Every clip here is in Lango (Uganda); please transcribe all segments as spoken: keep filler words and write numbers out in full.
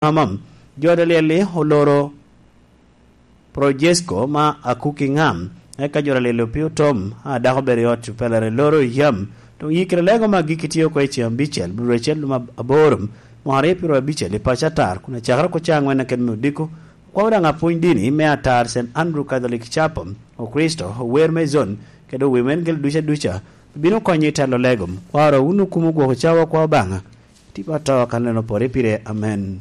Amam, jo a lyel-li oloro Projesko ma Akuki Ŋam, eka jo a lyel-li opio tom, a dako obedo i ot pelere loro yam, doŋ yikere lego ma giki tye oko i ceŋ abicel, bro acel lum ab-, aboro, mwaka aryo pyero abicel i paco atar, kun acakere oko ceŋ aŋwen keken me odiko, okwao daŋ apwony dini me atar Saint Andrew Catholic Chapel, Okricito, ower me zon, kede ower me gel duca duca, bino konyo i telo lego. Kwaro, wun okumo gwoko cawa kwa Obaŋa, tipo atoo kan leno pore pire. Amen.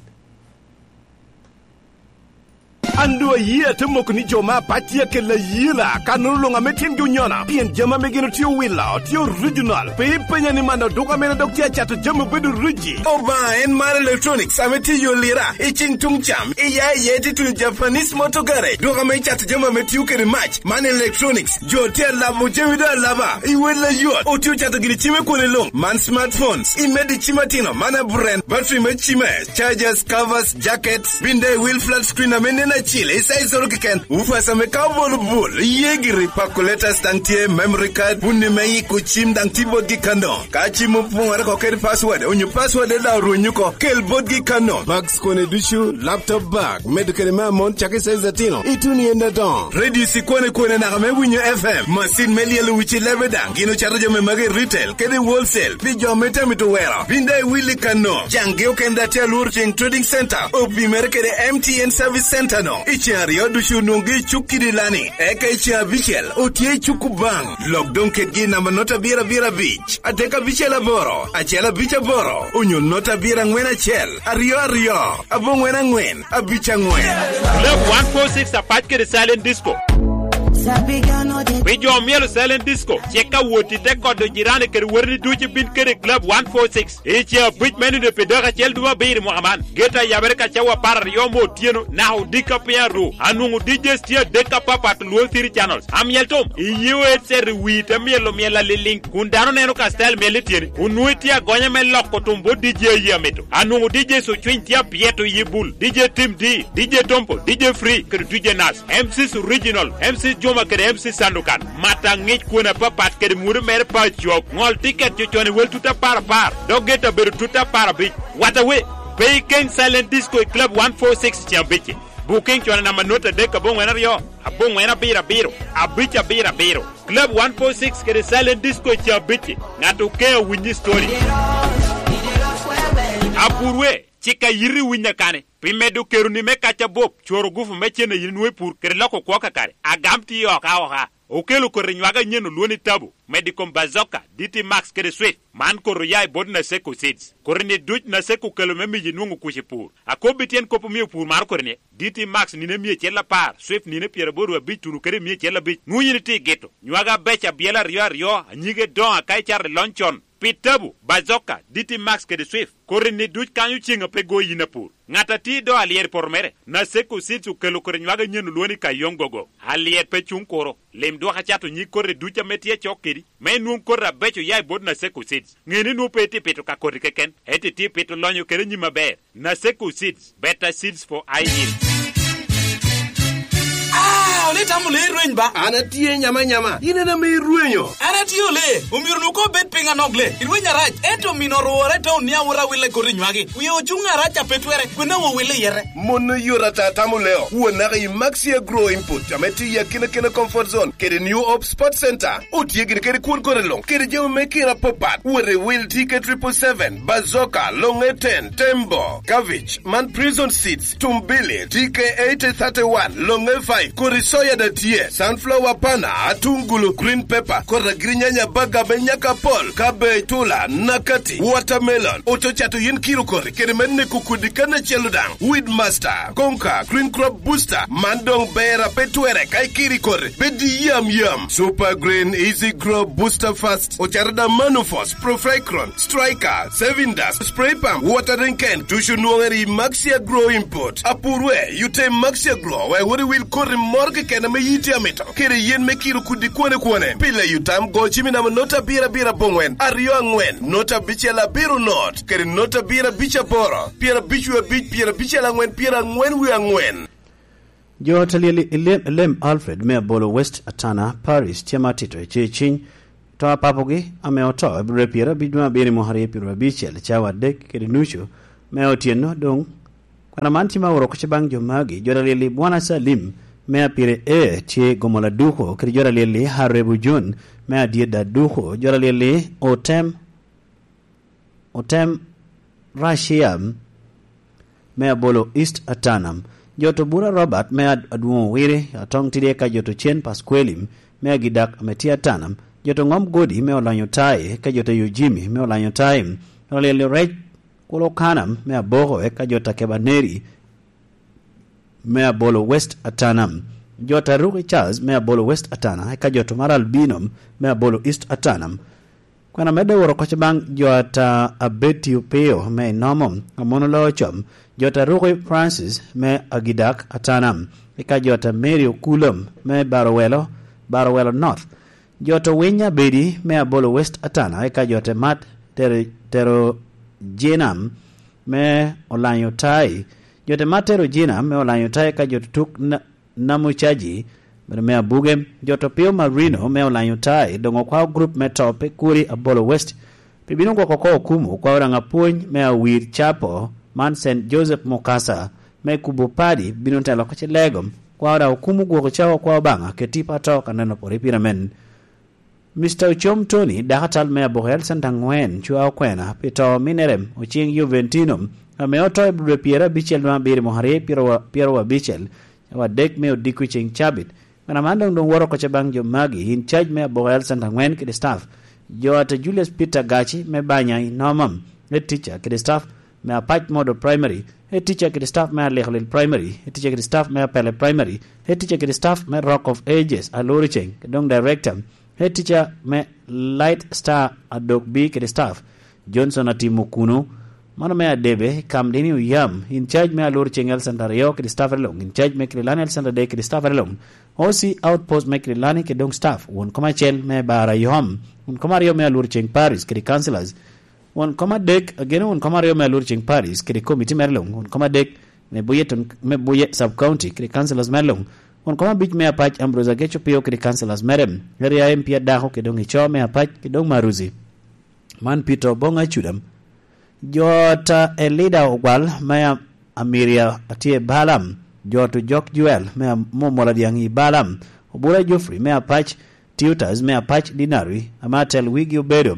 An doŋ ayie ate moko ni jo me apac tye akella ayela, kannono luŋ ame tyengi onyona, pien jami ame gin otye owilo tye original, pe ipenya ni man oduka mene dok tye acato jami obedo riji. Obaŋa en mar electronics ame tye i yo lira, i ceng tuŋ cam, i ya i ye tye tuno Japanese Motor Garage, duka ame cato jami ame tio kede mac, man electronics, jo tye alabo jami doŋ alaba, i wel ayot, otye ocato gini cime kwone luŋ, man smartphones, i medo i cim atino, man aburen, battery me cime, chargers, covers, jackets, binde wheel flat screen ame nen acil, i size oro keken, woofers ame ka obolo bul, iye giri, calculators daŋ tye, memory card, bunni me yiko cim daŋ tye botgi kano. Ka cim opoŋore oko kede password, onyo password daŋ orwenyo oko, kel botgi kano. Bags kone ducu, laptop bag, medo kede me amon cakki size atino, ituno i en adoŋo. Radio cikwane kwane naka me winyo F M, macin me lyelo wici lebe daŋ, gin ocato jami magi i retail, kede i wholesale, pi jo ame tye amito wero. Bin daŋ iwilli kano. Caŋgi okene daŋ tye alworo ceŋ Trading Center, opimere kede M T N Service Center no. I ceŋ aryo ducu onwoŋgi i cuk kidi lani, eka i ceŋ abicel otye i cuk Obaŋ. Lok doŋ kedgi i namba nota abiro abiro abic, adek abicel aboro, acel abic aboro, onyo nota abiro aŋwen acel, aryo aryo, aboŋwen aŋwen, abic aŋwen. Club one four six apac kede Silent Disco. Pi jo omyelo Silent Disco, cik ka wot i te kodo jirani kede woteni ducu bin kede Club one four six. I ce abic me nino pi dako acel dwe abiro i mwaka man, geto ayabere ka cawa apar aryo me otyeno, naka odiko piny aruu. Anwoŋo D Js tye adek apapat, Luo City Channels. Amyel tom, iye o headset i wi te myelo myel aliliŋ, kun dano neno ka style myel i tyeni. Onwoŋo itye agonya me loko tum bot D J aye amito. Anwoŋo D Js ocwiny tye apyeto i bul, D J Tim D, D J Tompo, D J Free, kede D J Nas. M Cs Original, M Cs Juma kede M Cs Sandukan. Mata ŋic kwene apapat kede muru mere pa cok. Ŋol tiket cocon i wel tut apar apar, dok gete abedo tut apar abic. Wata we, pe ikeng Silent Disco i Club one four six ceŋ abicci. Booking con i namba nota adek aboŋwen aryo, aboŋwen abiro abiro, abic abiro abiro. Club one four six kede Silent Disco ceŋ abicci. Ŋat okeŋ awinyi story. Apur we, cik a yiti winyo kane. Pi medo keroni me kac abop, cworo gufu me cen a yin nwoŋo i pur kede loko kwo kakare. Agam tye oka oka. Okelo koti nywage anyen olwoni Tabo, medo i kom Bazooka, D T Max kede Swift. Man koti oya i bot Naseko Seeds. Koti-ni duc Naseko okelo me miyi nwoŋo kuc i pur. Akobbi tyen kop omio pur maro koti-ni, D T Max nino emia acel apar, Swift nino pyeraboro abic tuno kede emia acel abic. Nwoŋo yin itye i gito. Nywage abeco abyela aryo aryo, anyige doŋo aka icato i lony con. Pi Tabo, Bazooka, D T Max kede Swift, koti-ni duc kanyo ceŋ a pe go yin apur. Ŋat a tye i do alyet i poto mere, Naseko Seeds okelo koti nywage anyen olwoni Kayong Gogo. Alyet pe cuŋ kuro. Lim dwok acato nyig koti duc ame tye acok kedi, me inwoŋ koti abeco oya i bot Naseko Seeds. Ŋe ni nwoŋo pe itye pito ka koti keken, ento itye pito lonyo kede nyim aber. Naseko Seeds, better seeds for high yield. Ah, ole tamo le rweny ba? An atye nyama nyama, in en ame irwenyo. An atye ole, omyero nu ko bed piny anok le. Irweny arac, ento mino orwore i taun ni awot awille koti nywagi. Wie ocuŋ arac a pe twere, kwena wo wille yete. Mon oyot ata tamo leo. Won naka i Maxi Agro Input, ame tye i Akina Kina Comfort Zone, kede New Hope Sports Center. Otye gini kede kwon kore luŋ, kede jami me kina apapat. Wot i wil T K triple seven, Bazooka, Longe ten, Tembo, Cabbage, man Prison Seeds, Tumbili, T K eighty thirty-one, Longe five, kodi soya da tye, sunflower pana, atungulu, green pepper, kodi agiri nyanya baga me nyaka pol, cabbage, tula, nakati, watermelon, ococato yin kiro kodi, kede me neko kodi kan acel daŋ, Weed Master, Konka, Green Crop Booster, man doŋ ber a pe twere ka ikiri kodi, bed i yam yam. Super Green, Easy Grow, Booster Fast, ocato da Manufos, Profecron, Striker, Saving Dust, Spray Pump, Watering Can, ducu nwoŋere i Maxi Agro Import. Apur we, yute Maxi Agro, wek wot iwil koti moro keken ame yiti amito. Kede yen me kiro kudi kwane kwane. Pile yutam go cimi namba nota abiro abiro aboŋwen, aryo aŋwen, nota abicel abiro not, kede nota abiro abic aboro, pyera abic wie abic, pyera abicel aŋwen, pyera aŋwen wie aŋwen. Jo ot a lyel i lem, lem Alfred me Abolo West Atana Parish tye ma tito i ce ciny to a papogi ame oto i bro pyera abic dwe abiro i mwaka aryo pyero abicel cawa adek kede nucu me otyeno doŋ Kara man tye ma oro kocce baŋ jo magi, jo alyel-li Bwana Salim me Apire A tye gomo laduko, kede jo alyel-li Harebu Jun me Adyedda duko, jo alyel-li Otem, Otem Rashia me Abolo East Atanam, jo to Bura Robert me Ad-, Adwoŋ Owiri, Atong Tidi eka jo to Cen Paskweli me Agidak ame tye Atanam, jo to Ŋom Godi me Olanyo Tai, eka jo to Yojimi me Olanyo Tai, jo alyel-li Rec Kulo Kanam me Aboko, eka jo to Akeba Neri me Abolo West Atanam, jo to Aruki Charles me Abolo West Atana, eka jo to Mara Albino me Abolo East Atanam. Kwena medde woro kocce baŋ jo ata Abeti Opio me Inomo, Amono Locom, jo ata Ruki Francis me Agidak Atanam, eka jo ata Mary Okulom me Barowelo, Barowelo North, jo ata Winy Abedi me Abolo West Atana, eka jo ata Mat Tero, Tero Jinam me Olanyo Tai, jo ata Mat Tero Jinam me Olanyo Tai, eka jo ata Tuk Na-, Namucaji, bene me Abuge, jo to Pio Marino me Olanyo Tai, doŋ okwao grup me to pe kuri Abolo West. Pi bino gwoko oko okumu, okwao daŋ apwony me Awir Capo, man Saint Joseph Mukasa, me kubo padi, bino telo oko ci lego, kwao daŋ okumu gwoko cawa kwao Obaŋa, keti pa to ka neno pore pire men. Mister Ocom Tony, dakatal me Abokel Center aŋwen, cwa okwena pi to minere Ocing Juventino, ame oto i dwe pyero abicel dwe abiro mwaka aryo pyero wa-, pyero abicel, cawa adek me odiko i ceŋ cabit. Kwena man doŋ, doŋ woro kocce baŋ jo magi, in charge me Abokel Center aŋwen kede staff, jo ata Julius Peter Gaci me Banya i Noma, head teacher kede staff me Apac Model Primary, head teacher kede staff me Alikolil Primary, head teacher kede staff me Apele Primary, head teacher kede staff me Rock of Ages, Aloro Ceng, kede doŋ director, head teacher me Light Star Adok B kede staff, Johnson Atimo Kuno, mano me Adebe, Kamdini Oyam, in charge me Aloro Ceng Health Center aryo kede staff aryo luŋ, in charge me Kililani Health Center adek kede staff aryo luŋ, O C Outpost me Kililani kede doŋ staff, won kom acel me Bara Yom, won kom aryo me Aloro Ceng Parish kede councillors, won kom adek, ageno won kom aryo me Aloro Ceng Parish kede committee mere luŋ, won kom adek me Buye ton-, me Buye Sub County kede councillors mere luŋ, won kom abic me Apac Ambrose Ageco Pio kede councillors mere, area M P adako kede doŋ ico me Apac kede doŋ Maruzi. Man Peter Oboŋ Acudam. Jo ta Elida Ogwal me Am-, Amiria atye i Balam, jo to Jok Joel me Am-, Momola Dyaŋ i Balam, Obura Geoffrey me Apac, Tutors me Apac Dinari, ame atel wigi obedo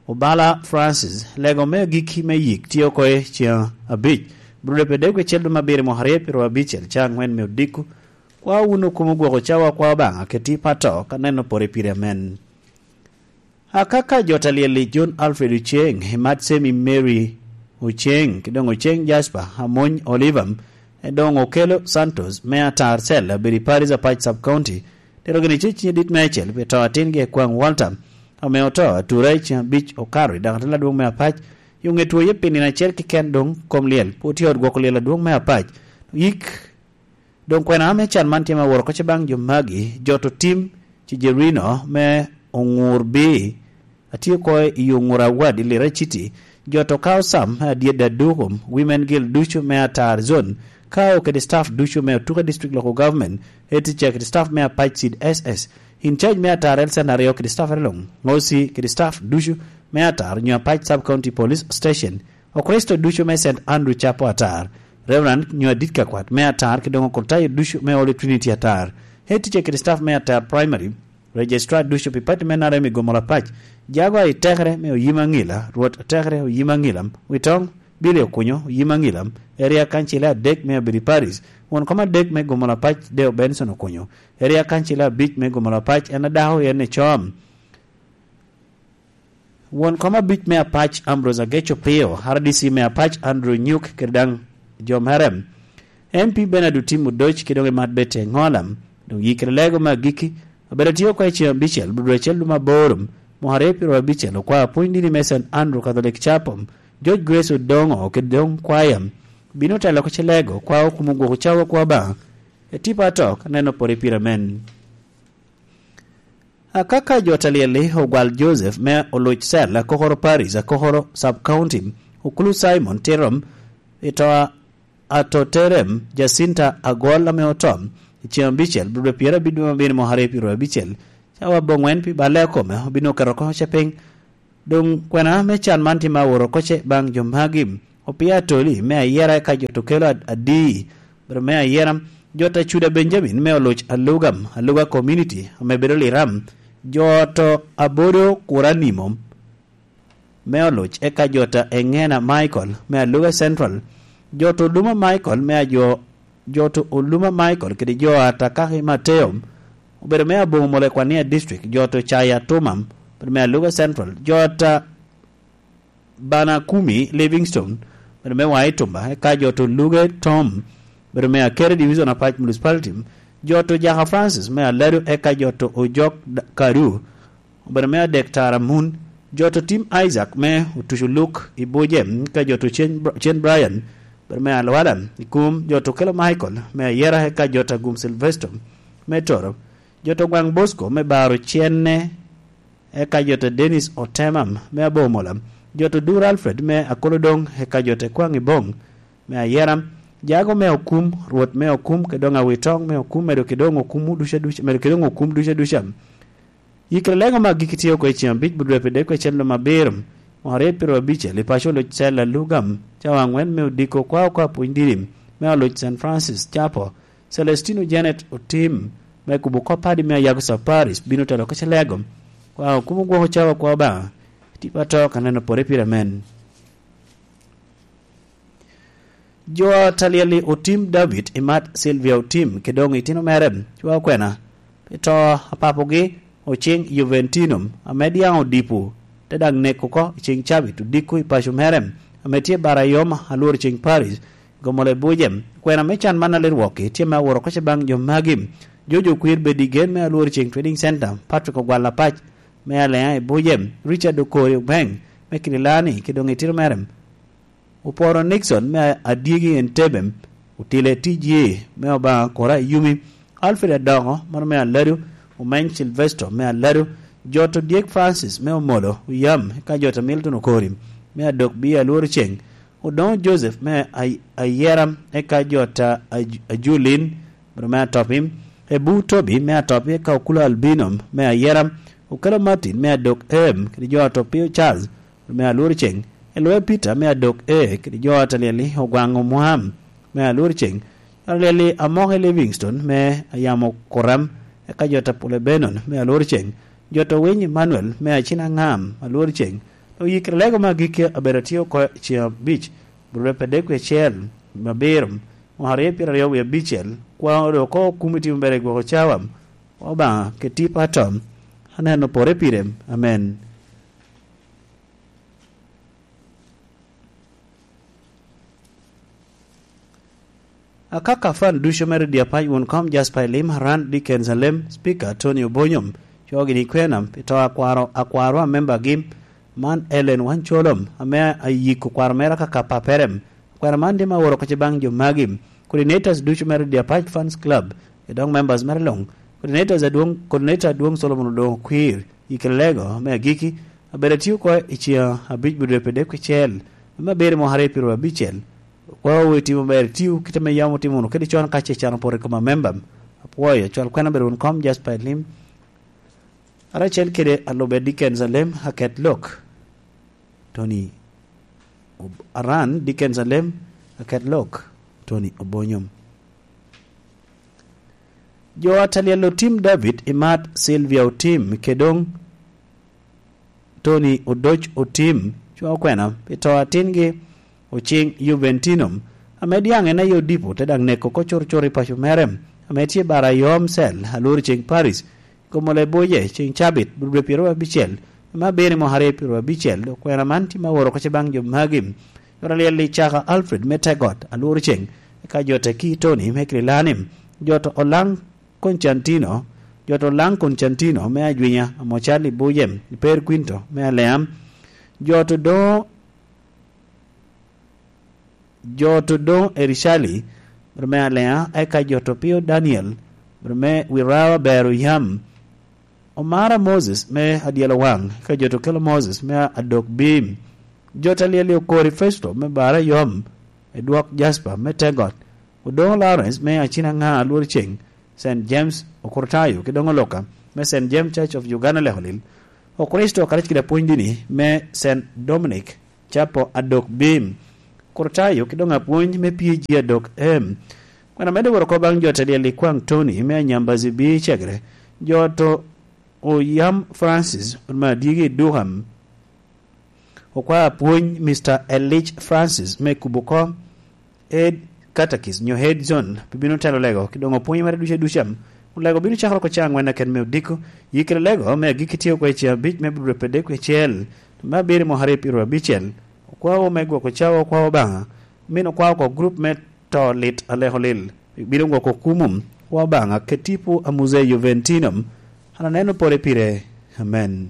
Obala Francis, lego me agikki me yik tye oko i ceŋ abic, Brude pe dek acel dwe me abiro mwaka aryo pyero abicel, ca aŋwen me odiko. Kwa wun okumo gwoko cawa kwa Obaŋa keti pato ka neno pore pire amen. Akaka jo ta lyel-li John Alfred Oceng, Imat Semi Mary Oceng, ki doŋ Oceng Jasper, Amony Oliver, e doŋ Okelo Santos, me Atar Cell, abedo i Paris Apac Sub County, tero gini ceciny adit me acel pi to atingi Ekwaŋ Walter, ame oto atura i ceŋ abic okato i daŋ atin adwoŋ me Apac, yo ŋe two ye pi nino acel keken doŋ kom lyel, pwod tye ot gwoko lyel adwoŋ me Apac. Yik Doŋ kwena ame can man tye ma woro kocce baŋ jo magi, jo to tim Cijerino me Oŋur B, atye oko i Oŋur Award i Lira City, jo to kao Sam me Adyedda Dukum, Women Guild ducu me Atar Zone, kao kede staff ducu me Otuke District Local Government, head teacher kede staff me Apac Seed S S, in charge me Atar Health Center aryo kede staff aryo luŋ, O C kede staff ducu me Atar nyo Apac Sub County Police Station, Okricito ducu me Saint Andrew Chapel Atar, Reverend nyo adit ka kwat me Atar, ki doŋ okritayo ducu me Holy Trinity Atar, head teacher kede staff me Atar Primary, Registrar ducu pi pati me N R M i Gomola Pac, jago a i tekere me Oyim Aŋila, Rwot a tekere Oyim Aŋila, Witoŋ, Billy Okunyo, Oyim Aŋila, Area Council adek me Abiri Paris, won kom adek me Gomola Pac, Deo Benson Okunyo, Area Council abic me Gomola Pac, en adako, en ecom. Won kom abic me Apac, Ambrose Ageco Pio, R D C me Apac, Andrew Nyuk, kede daŋ jo mere, M P Bernard Otim Odoc, kede doŋ Imat Betty Aŋola, doŋ yikere lego me agikki, abedo tye oko i ceŋ abicel, dwe acel dwe me aboro, mwaka aryo pyero abicel, okwao apwony dini me Saint Andrew Catholic Chapel, George Grace Odoŋo, kede doŋ kwaya, bino telo oko ci lego, kwao kumo gwoko cawa kwa Obaŋa, etipa atok, aneno pore pire men. Akaka jo ta lyel-li, Ogwal Joseph me Oluc Cell, Akokoro Parish, Akokoro Sub County, Okulu Simon Tirom, i to a, Atoterem Jacinta Agol ame oto, i ceŋ abicel, dwe pyerabicel dwe me abiro mwaka aryo pyero abicel, cawa aboŋwen pi balle a kome, obino keto oko ce piny. Doŋ kwena me can man tye ma woro oko ce baŋ jo magi, Opia Atoli me Ayera, eka jo to kelo ad-, Adi, bedo me Ayera, jo to Acuda Benjamin me Oluc Alugam, Aluga Community, ame bedo Liram, jo to Abodo Kuranimo me Oluc, eka jo to Engena Michael me Aluga Central, jo to Oluma Michael me Ajo, jo to Oluma Michael kede jo a Takaki Mateo, obedo me Aboŋo Molekwania District, jo to Caya Tumam, obedo me Aluga Central, jo to Bana Kumi Livingstone, bedo me Wai Tumba, eka jo to Luge Tom, bedo me Akere Division Apac Municipality, jo to Jaka Francis me Aladu, eka jo to Ojok D-, Karu, bedo me Adek Tara Mun, jo to Tim Isaac me Otucu Luk i Buje, eka jo to Cen Br-, Cen Brian, bedo me Alwala i Kum, jo to Kelo Michael me Ayera, eka jo to Agum Silvester me Toro, jo to Gwaŋ Bosco me Baro Cenne, eka jo to Dennis Otemam me Abomola, jo to Dur Alfred me Akolodoŋ, eka jo to Kwaŋ Iboŋ me Ayera, Jago me Okum, Rwot me Okum, kede doŋ Awitoŋ me Okum, medo kede doŋ okum ducu aduca, medo kede doŋ okum ducu aduca. Yikere lego me agikki tye oko i ceŋ abic, budwe pi dek kwe cen lum abiro, mwaka aryo pyero abicel, i paco Oluc Cel Alugam, cawa aŋwen me odiko, kwa oko apwony didi me Oluc Saint Francis Chapo, Celestino Janet Otim, me kubo kop padi me Ayago Saparis, bino telo ka Calego. Kwa okumo gwoko cawa kwa Obaŋa, tipo ato ka neno pore pire amen. Jo a Talyeli Otim David, imat Silvia Otim, kede doŋ itino mere, cwa okwena, pi to a papogi, Ocing Juventino, ame diaŋ odipo, te daŋ neko oko i ceŋ cabit odiko i paco mere, ame tye bara yom alworo ceŋ Paris, Gomo Lebuje. Kwena me can man a Lirwokki tye me aworo oko ce baŋ jo magi. Jojo Okwir Bedi Gen me Alwor Ceng Trading Center, Patrick Ogwal Apac me Alea i Buje, Richard Okori Obeng me Kirilani, kede doŋ itino mere, Oporo Nixon me Adyegi Entebbe, Otile T J me Obaŋa Kora Yumi, Alfred Adongo, mano me Aladu, Omeny Silvester me Aladu, Joto Dyek Francis me Omolo Oyam, eka Joto Milton Okori me Adok Bia Alwor Ceng, Odoŋo Joseph me Ay-, Ayera, eka jo ta Aj-, Ajulin, bedo me Atopi, Ebu Tobi me Atopi, eka Okulo Albino me Ayera, Okelo Martin me Adok Em, kede jo Atopio Charles, bedo me Alwor Ceng, Elwe Peter me Adok E, kede jo Atalyeli Ogwaŋo Mwam me Alwor Ceng, Atalyeli Amoke Livingstone me Ayamo Kuram, eka jo Tapule Benon me Alwor Ceng, jo to Winy Emmanuel me Acina Ŋam Alwor Ceng, Oyikere lego me agikki abedo atye oko i ceŋ abic, burre pe dek wie acel, me abiro, mwaka aryo pyeraryo wie abicel, kwa onyo oko okumi timo bere i gwoko cawa, Obaŋa, keti pato, aneno pore pire, amen. Akaka fan ducu me redio apac wun kom Jasper Elim, Haran Dickens Alem, Speaker Tony Obonyom, cogini kwena, pi to akwaro, akwaro a membagi, man Ellen Wancolom, ame ayiko kwaro mere akaka papere. Kwena man tye ma oro kece baŋ jo magi, coordinators ducu me redio apac Fans Club, e dok members mere luŋ. Coordinators adwoŋ, coordinator adwoŋ Solomon Odoŋo Kwir, i Kelego, me agiki, abedo atye oko i ceŋ abic budwe pi dek kicel, ame abedo i mwaka aryo pyeraryo abicel. Kwa owe timo ber, tiyo kite me yam otimo wunu kede con ka ce can opoto i kom amemba. Apwoyo, cwal kwena bedo wun kom Jasper Elim. Ara acel kede alube Dickens Alem, aket lok. Tony Ob-, Aran Dickens Alem, aket lok. Tony Obonyom. Jo a Talyel Otim David, imat Sylvia Otim, kede doŋ Tony Odoc Otim, cwa okwena, pi to atingi Ocing Juventino, ame diaŋ en aye odipo, te daŋ neko oko curcur i paco mere, ame tye bara yom cel, alworo ceŋ Paris, Gomo Leboje, ceŋ cabit, dwe pyeraryo abicel, ame abino i mwaka aryo pyeraryo abicel, dok kwena man tye ma oro oko ce baŋ jo magi. Yot alyel i Caka Alfred me Tegot, alworo ceŋ, eka jo Teki Tony me Kirilani, jo to Olaŋ Koncantino, jo to Olaŋ Koncantino me Ajwinya, amo Charlie Buje, i Per Quinto me Aleam, jo to Doŋo Jo to doŋ Ericali, bedo me Alea, eka jo to Pio Daniel, bedo me Wirawa Bero Yam, Omara Moses me Adyelo Waŋ, eka jo to Kelo Moses me Adok Bim, jo to Alyeli Okori Festo me Bara Yom, Edwok Jasper me Tegot, Odoŋo Lawrence me Acina Ŋa Alwor Ceng, Saint James Okurtayo, ki doŋ Oloka me Saint James Church of Uganda Lekolil, Okricito karec kede apwony dini me Saint Dominic, Capo Adok Bim, Kur tayo ki doŋ apwony me P G adok M. Kwena medde woro oko baŋ jo te lyel i kwaŋ Tony me Anyambazi B cegere, jo to Oyam Francis me Adyegi i Durham, okwa apwony Mister Elich Francis me kubo oko, Ed Katakis nyo Head Zone pe bino telo lego ki doŋ opwonyo mere ducu aduca. Olego bino cakere oko cawa angwen aken me odiko, yi kede lego me agikki tye oko i cawa abic me Abril pede kwe acel, me abiro i mwaka aryo pyero abicel. Okwawa me gwoko cawa okwawa Obaŋa, min okwawa oko grup me to lit aleko lil, bino gwoko kumo wa Obaŋa kede tipo a Muzei Juventino. An aneno pore pire. Amen.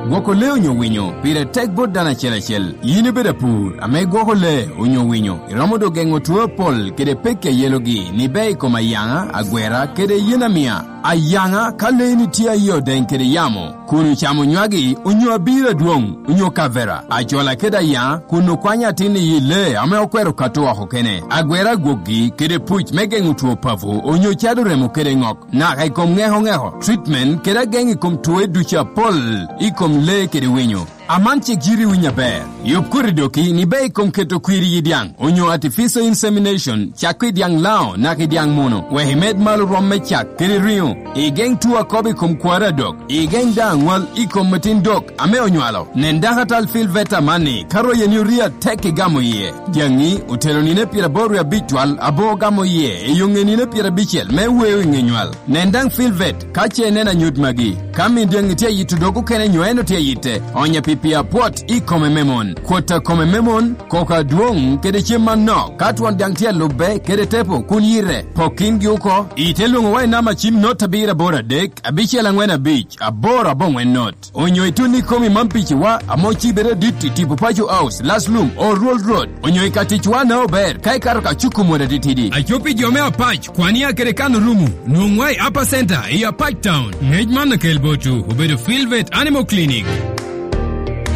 Gwoko lee onyo winyo pire tek bot dano acel acel. Yin ibedo apur ame igwoko lee onyo winyo, iromo doŋ geŋo two apol kede pekki a yelogi ni bea i kom ayaŋa, agwera, kede yen amia. Ayaŋa, ka leeni tye aye odeŋ kede yamo, kun ocamo nywagi, onyo abiro adwoŋ, onyo kavera, acola kede ayaŋa, kun okwanyo atin i yi lee ame okwero kato oko kene, agwera agwokgi, kede puc me geŋo two papo, onyo cado remo kede ŋok, naka i kom ŋeko ŋeko, treatment, kede ageŋ i kom twoe ducu apol i kom lee kede winyo. Aman cik yiti winyo aber. Yub koti doki ni bea i kom keto kwir i yi dyaŋ, onyo artificial insemination, cakko i dyaŋ Laŋo naka i dyaŋ Muno, wek imed malo rwom me cak kede riŋo, igeŋ two akobo i kom kwaro adok, igeŋ daŋ aŋwal i kom atin dok ame onywalo. Nen dako atal Filvet amanni, ka royeni orie atek igamo iye. Dyaŋi otelo nino pyeraboro wie abic twal, abo ogamo iye, i yo ŋe nino pyerabicel me weo i ŋe nywal. Nen daŋ Filvet, ka ce ineno anyut magi. Ka min dyaŋi tye ayito dog okene nyo en otye ayitte, onye pi pii apwot i kome me mon, kwot a kome me mon, koko adwoŋ, kede cem anok. Ka twon dyaŋ tye alubbe kede tepo, kun yite, pok kingi oko. Ite lwoŋo wa i namba cim not abiro aboro adek, abicel aŋwen abic, aboro aboŋwen not. Onyo itun ikomi man piciwa, ame ocibere adit i tipo Paco House, Last Lum, Old Road. Onyo i ka ticwa na ober, ka ikato ka cuku mot atitidi. Aco pi jo me Apac, kwan ya kede kan orumo, nwoŋwa i Upper Center, i Apac Town. Ngec man okel botwu, obedo Filvet Animal Clinic.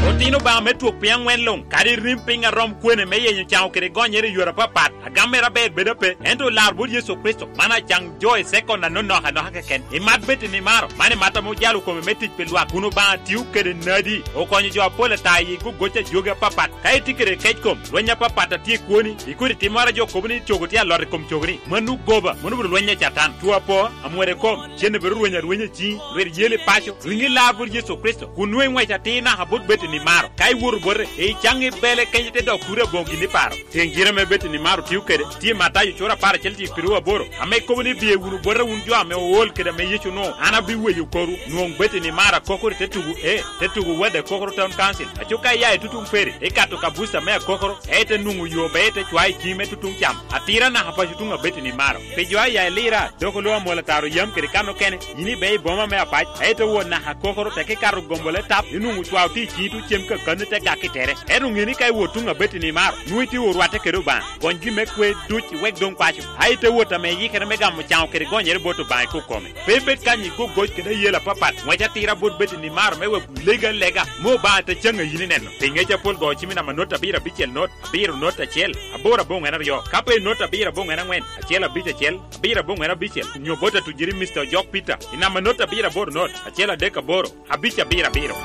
Otino Obaŋa me twok piny aŋwen luŋ, kadi rim piny a rom kwene me yenyo caŋo kede gonyere i yore apapat, agam mere aber bedo ape, ento olaro bot Yecu Kricito, man acaŋ jo i sekon anonok anoka keken. Imat bed i nimaro, man imat ame ojalo kome me tic pi lwak, kun Obaŋa tio kede nadi, okonyo jo apol ata i gogoc a jogi apapat. Ka itye kede kec kom, lweny apapat a tye i kwoni, i kodi timmoro a jo kobo ni cogo tye alot i kom cogoni, mano goba, mano obedo lweny a Catan. Two apo, amwero i kom, cen obedo rweny arwenya i ciŋi, lwit yel i paco, riŋi lar bot Yecu Kricito, kun nwoŋo iŋwec atir naka bot bed i nimaro. Ka iwoto bote, icaŋ i bele kenyo ite dok kuri aboŋo gin iparo. Tiŋ gin ame bed i nimaro tio kede, tye i Matayo cura apar acel cik pirwu aboro, ame kobo ni, "Biye wunu bota wun jo ame ool kede ame Yecu onwoŋo, an abiweyo korwu." Nwoŋ bed i nimaro akokoro i te tugo, ee, te tugo Wade Kokoro Town Council. Aco ka iya i tutuŋ Ferry, ikato ka buca me akokoro, ee, ite nwoŋo yo, be ite cwayo i ciŋi me tutuŋ cam. Atira naka paco tuŋ abed i nimaro. Pi jo aya i Lira, dok oloo amwol ataro yam kede kan okene, yin ibe i boma me Apac, ee, ite wot naka akokoro, teke ikato gombo le tap, inwoŋo cwao tye i ciŋi tuŋ cem kakanni te gak i tere. Ento ŋe ni ka iwot tuŋ abet i nimaro, nwoŋo itye orwatte kede Obaŋa. Gony gin me kwe duc iwek doŋ paco, a ite wot ame iyikere me gamo caŋo kede gonyere bot Obaŋa i kok kome. Pe ibed kany i gogoc kede ayela apapat, ŋwec atira bot bed i nimaro me wek legi alega, me Obaŋa te caŋ a yin ineno. Pi ŋec apol go cim i namba not abiro abicel not, abiro not acel, aboro aboŋwen aryo, ka pe not abiro aboŋwen aŋwen, acel abic acel, abiro aboŋwen abicel, nyo bot atujiri Mister Ojok Peter, i namba not abiro aboro not, acel adek aboro, abic abiro abiro.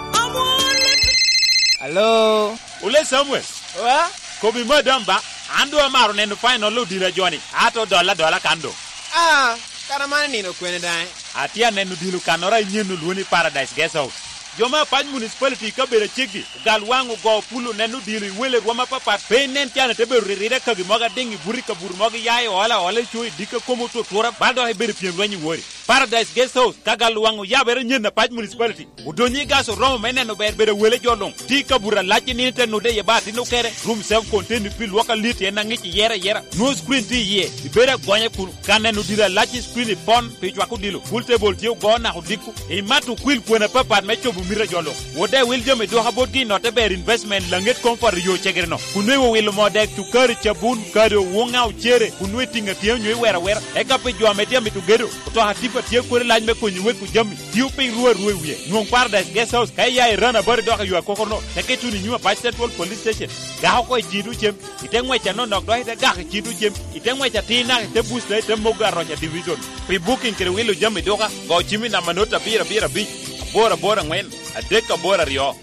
Alo? Ole Samuel. Wa? Kobi madam ba, an doŋ amaro neno final odilo a joni, ato dolla adola kan doŋ. Ah, kara man nino kwene daŋ? Atye aneno odilo kannoro a inyen olwoni Paradise Guest House. Jo me Apac Municipality i kabedo aceggi, ogal waŋ ogo pul oneno odilo i wele rwom apapat, pe inen can ite bedo riride kagi mogo adiŋ i buto i kabuto mogo iya i ola ola i co i dikka komo otutura, bal dok ibedo pyem lweny i wori. Paradise Guest House, ka gal waŋ oyabere nyen Apac Municipality. Odonyo i gas oromo me neno ber bedo wele jo luŋ. Tye i kabuto alac i nino te nude iye ba atin okere. Room self contained pi lwok alit en aŋic iyere ayera. Nwoŋo screen tye iye. Ibedo agonya kun ka neno dilo alac i screen i pon pi cwako dilo. Pool table tye ogo naka odiko. Imato okwil kwena apapat me cobo mito a jo luŋ. Wode wil jami dwoka botgi i notte ber investment laŋet comfort i yo cegere no. Kun nwoŋo iwilo moo dek, cukari, cabun, kado, wuŋa, ocere, kun nwoŋo itiŋo atiŋa nyo iwero awera. Eka pi jo ame tye amito gedo, otoka tipa tye kodi lac me konyo weko jami. Tio piny ruu arua i wie. Nwoŋ Paradise Guest House ka iya i Rana Bari dok i yo akokoro no, teke ituno i nyim Apac Central Police Station. Gak oko i ciŋ tuŋ cem, ite ŋwec anonok dok ite gak i ciŋ tuŋ cem, ite ŋwec atir naka ite busta ite mogo aroca division. Pi booking kede wilo jami duka, go cim i namba not abiro abiro abic, aboro aboro aŋwen, adek aboro aryo.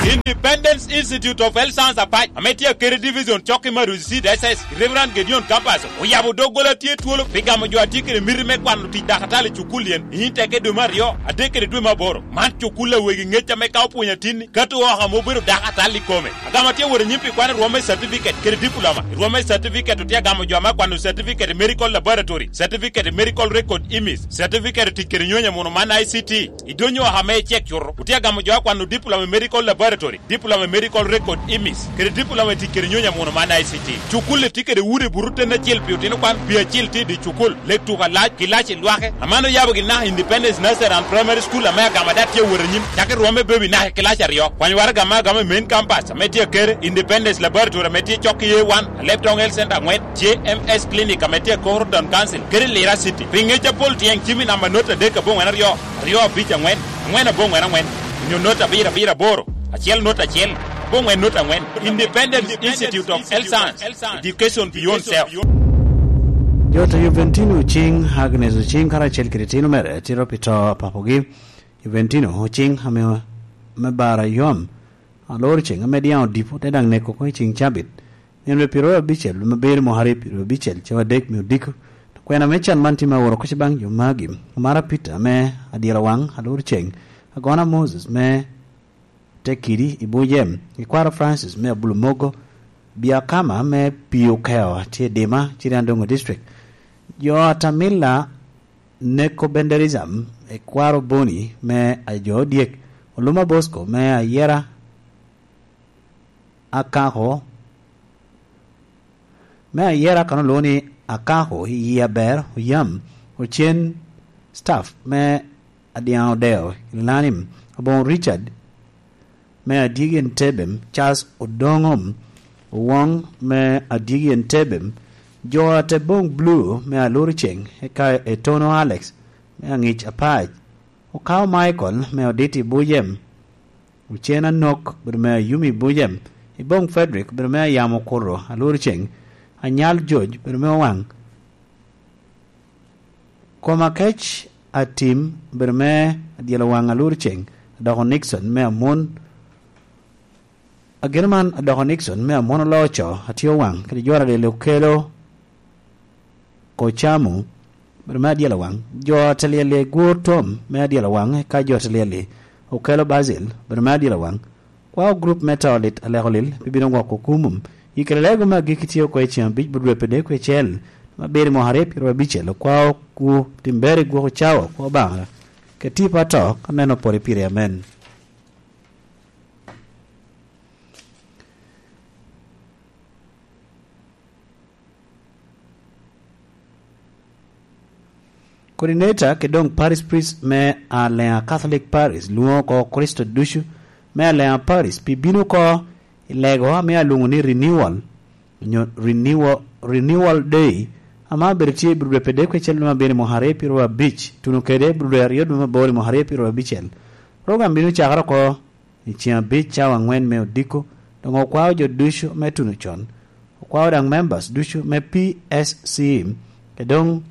Independence Institute of Health Science Apac, ame tye Akere Division, cok i Maruzi Seed S S, Reverend Gideon Kapaso, oyabo doggola tye twolo pi gamo jo a tye kede miti me kwano tic dakatali i cukul yen i nyim teke dwe me aryo, adek kede dwe me aboro. Man cukul a wegi ŋec ame ka opwonyo atinni, ka to oko ame obedo dakatali i kome. Agamo atye wot anyim pi kwano rwom me certificate kede diploma. Rwom me certificate otye agamo jo ame akwano certificate i medical laboratory, certificate i medical record image, certificate i tic kede nyonyo amuno man I C T. I dony oko ame icek cuto, otye agamo jo akwano diploma i medical laboratory, diploma i medical record image, kede diploma i tic kede nyonyo amuno man I C T. Cukul-li tye kede udi buto ten acel pi otino kwan, pi acel tye i dye cukul, lek tuko alac, kilaci lwake. Aman oyabogi naka Independence Nursery and Primary School ame agamo ada tye awot anyim, cakki rwom me baby naka i kilaci aryo. Kwany waraga ame agamo i main campus ame tye Akere, Independence Laboratory ame tye cok i A one, Alebtong Health Center aŋwen, J M S Clinic ame tye Akoro Town Council, kede Lira City. Pi ŋec apol tyeng cim i namba not adek aboŋwen aryo, aryo abic aŋwen, aŋwen aboŋwen aŋwen, onyo not abiro abiro aboro, acel not acel, aboŋwen not aŋwen. Independent Institute of Health Science, Education Beyond Self. Jo to Juventino Ocing, Agnes Ocing, karacel kede tino mere, tito pi to a papogi. Juventino Ocing, ame, me bara yom, aloro ceng ame diaŋ odipo, te daŋ neko oko i ceng cabit. Nino pyeraryo abicel, me bere mwaka aryo pyeraryo abicel, cawa adek me odiko. Kwena me can man tye me aworo kuc baŋ jo magi. Omara Peter me Adyela Waŋ, aloro ceng. Agona Moses me Tekidi i Bujem. Ikwaro Francis me Abulu Mogo. Biakama me Pii Okeo, tye i Dima, Ciriandongo District. Jo Atamila Neko Benderism, Ikwaro Boni me Ajo Odyek. Oluma Bosco me Ayera Akako, me Ayera kan olwoŋo ni Akako, i yie aber, oyam, ocen staff me Adiaŋ Odeo, Ilanim, Aboŋo Richard, me Adyegi Entebbe, Charles Odoŋom, Owoŋ, me Adyegi Entebbe, jo a te boŋ Blue, me Aloro Ceŋ, eka Etono Alex, me Aŋic Apac, Okao Michael, me Oditi Bujem, Ocen Anok, obedo me Ayumi Bujem, Iboŋ Frederick, obedo me Ayamo Kuto, Aloro Ceŋ, Anyal Joc, obedo me Owaŋ, Koma Kec Atim, obedo me Adyelo Waŋ Alur Ceŋ, Adoko Nixon me Amon, ageno man Adoko Nixon me Amon Oloco, Atye Owaŋ, kede Jwara Lili Okelo Kocamu, obedo me Adyelo Waŋ, jo Atelyeli Gur Tom me Adyelo Waŋ, eka jo Atelyeli Okelo Basil, obedo me Adyelo Waŋ, Kwao gurup me to lit aleko lil pi bino gwoko kumum. I kede lego me agikki tye oko i ceng abic but dwe pede kwe cel, ma biri mwaka aryo pyeraryo abicel, okwao ku timberi gwoko cawa kwo Obaŋa. Keti pa to ka neno pwod i piri amen. Coordinator kede doŋ Parish Priest me Alea Catholic Parish lwoŋo oko Kricito ducu me Alea Parish pi bino oko i lego ame alwoŋo ni Renewal, onyo Renewal, Renewal Day, ame abedo tye i Budwe pede kwe cel dwe me abiro mwaka aryo pyeraryo abic, tuno kede Budwe aryo dwe me aboro mwaka aryo pyeraryo abicel. Program bino cakere oko i ceng abic cawa aŋwen me odiko, doŋ okwao jo ducu me tuno con. Okwao daŋ members ducu me P S C, kede doŋ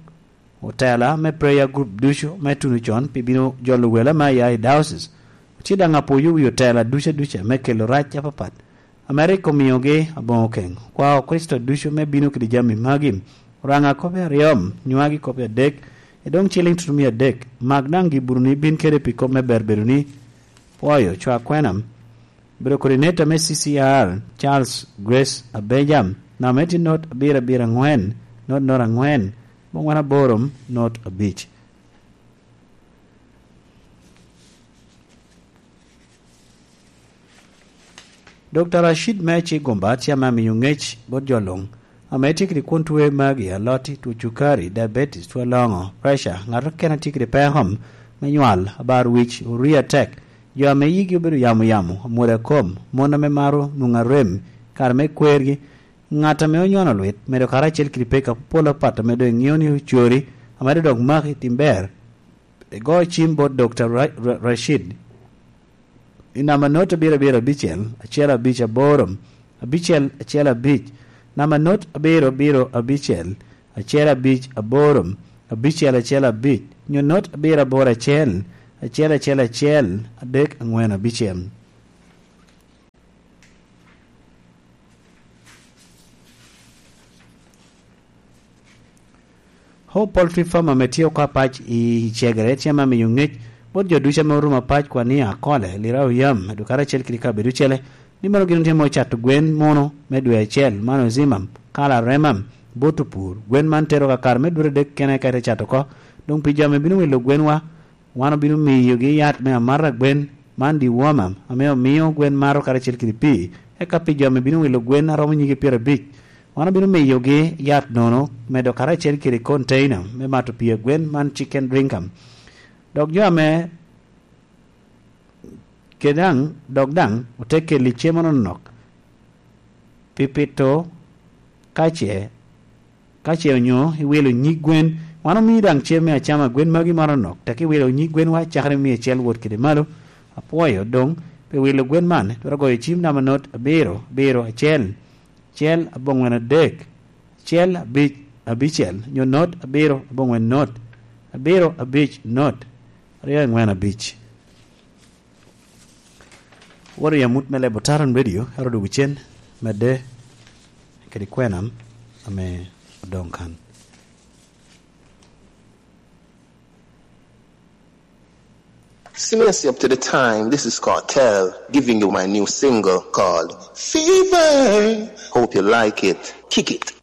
otela me prayer group ducu me tuno con pi bino jolo wele me aya i diocese. Otye daŋ apoyo wi otela ducu aduca me kelo rac apapat ame rik omiogi aboŋo keŋ. Okwao Kricito ducu me bino kede jami magi, Oraŋa kop i aryo, nywagi kop i adek, i doŋ ciliŋ tutumia adek. Mak daŋ gibutoni bin kede pi kop me ber bedoni. Pwoyo, cwa kwena. Obedo coordinator me C C R, Charles Grace Abeja, namba me tye not abiro abiro aŋwen, not not aŋwen, mungwen aboro, not abic. Dokta Rashid me Cigomba tye ame amiyo ŋec bot jo luŋ ame tye kede kwon twe magi, aloti, two cukari, diabetes, two loŋo, pressure, ŋat okene tye kede peko me nywal, abar wic, orii atek, jo ame yigi obedo yamo yamo, amwodo akom, mon ame maro nwoŋo arem i kare me kwergi, ŋat ame onyono lwit, medo karacel kede peko apol apat ame doŋ iŋeo ni ocori, ame doŋ dok maki tim ber. Igo cim bot Dokta Ra-, Ra-, Rashid i namba not abiro abiro abicel, acel abic aboro, abicel acel abic, namba not abiro abiro abicel, acel abic aboro, abicel acel abic, nyo not abiro aboro acel, acel acel acel, adek aŋwen abicel. Hope Poultry Farm ame tye oko apac i Cegere tye ame miyo ŋec bot jo ducu ame orumo apac kwan ni Akole, Lirau Yam, Dukara acel kede kabedo ocele, ni mano gin otye ame ocato gwen muno me dwe acel, man ozimam, kala remam, bot opur. Gwen man tero kakare me dwe adek kene ka ite cato oko. Doŋ pi jo ame bino wilo gwenwa, wan obino miyogi yat me amata gwen, man dewormer, ame omio gwen mato karacel kede pii. Eka pi jo ame bino wilo gwen aromo nyige pyerabic, wan obino miyogi yat nono medo karacel kede container me mato pii a gwen, man chicken drinker. Dok jo ame kede daŋ, dok daŋ ote keli cem anonok pi pito kace, kace onyo iwilo nyig gwen. Wan omii daŋ cem me acama gwen magi maro nok, tek iwilo nyig gwenwa cakere imiye cel wot kede malo. Apwoyo doŋ pi wilo gwen man, twero goyo cim namba not abiro, abiro, acel, acel, aboŋwen adek, acel, abic, abicel, nyo not abiro, aboŋwen not, abiro, abic, not, aryo, angwen, abic. Woro i amut me lebo Taron Radio, ero dwogo cen, medde kede kwena ame odoŋ kan. Simiasi up to the time. This is Kartel giving you my new single called Fever. Hope you like it. Kick it.